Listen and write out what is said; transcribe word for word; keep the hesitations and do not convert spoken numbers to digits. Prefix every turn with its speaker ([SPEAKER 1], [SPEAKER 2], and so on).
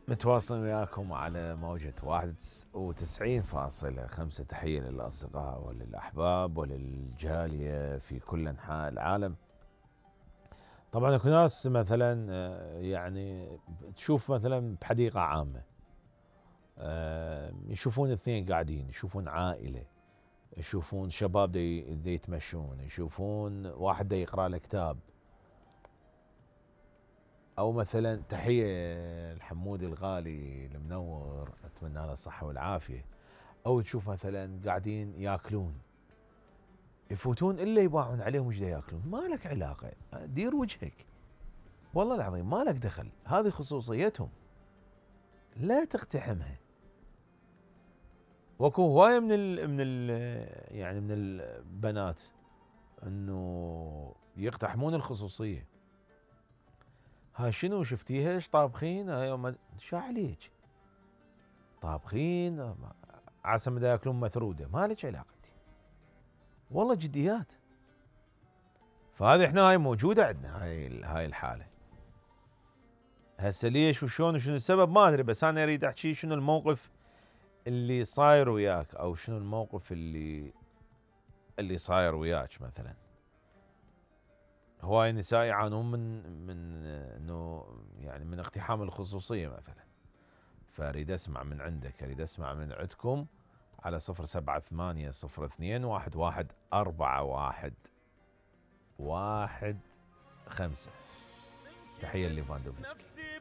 [SPEAKER 1] متواصل وياكم على موجة واحد وتسعين فاصلة خمسة. تحية للأصدقاء وللأحباب وللجالية في كل أنحاء العالم. طبعا اكو ناس مثلا يعني تشوف مثلا بحديقة عامة يشوفون اثنين قاعدين، يشوفون عائلة، يشوفون شباب دي, دي يتمشون، يشوفون واحد دي يقرأ له كتاب، او مثلا تحية الحمود الغالي المنور اتمنى له الصحة والعافية. او تشوف مثلا قاعدين ياكلون، يفوتون الا يباعون عليهم وش دا ياكلون، ما لك علاقة، دير وجهك والله العظيم ما لك دخل، هذه خصوصيتهم لا تقتحمها. واكو هواية من ال من ال يعني من البنات انه يقتحمون الخصوصية. هاي شنو شفتيها ايش طابخين؟ هاي شو عليك؟ طابخين عسى ما ياكلون مثروده، ما لك علاقه والله جديات. فهذه احنا هاي موجوده عندنا هاي هاي الحاله. هسه ليش وشلون وشنو السبب ما ادري، بس انا اريد احكي شنو الموقف اللي صاير وياك، او شنو الموقف اللي اللي صاير وياك. مثلا هواي نساء يعانون من من انه يعني من اقتحام الخصوصيه مثلا. فاريد اسمع من عندك، اريد اسمع من عندكم على صفر سبعة ثمانية صفر اثنين واحد واحد أربعة واحد واحد خمسة. تحية لليفاندوفسكي.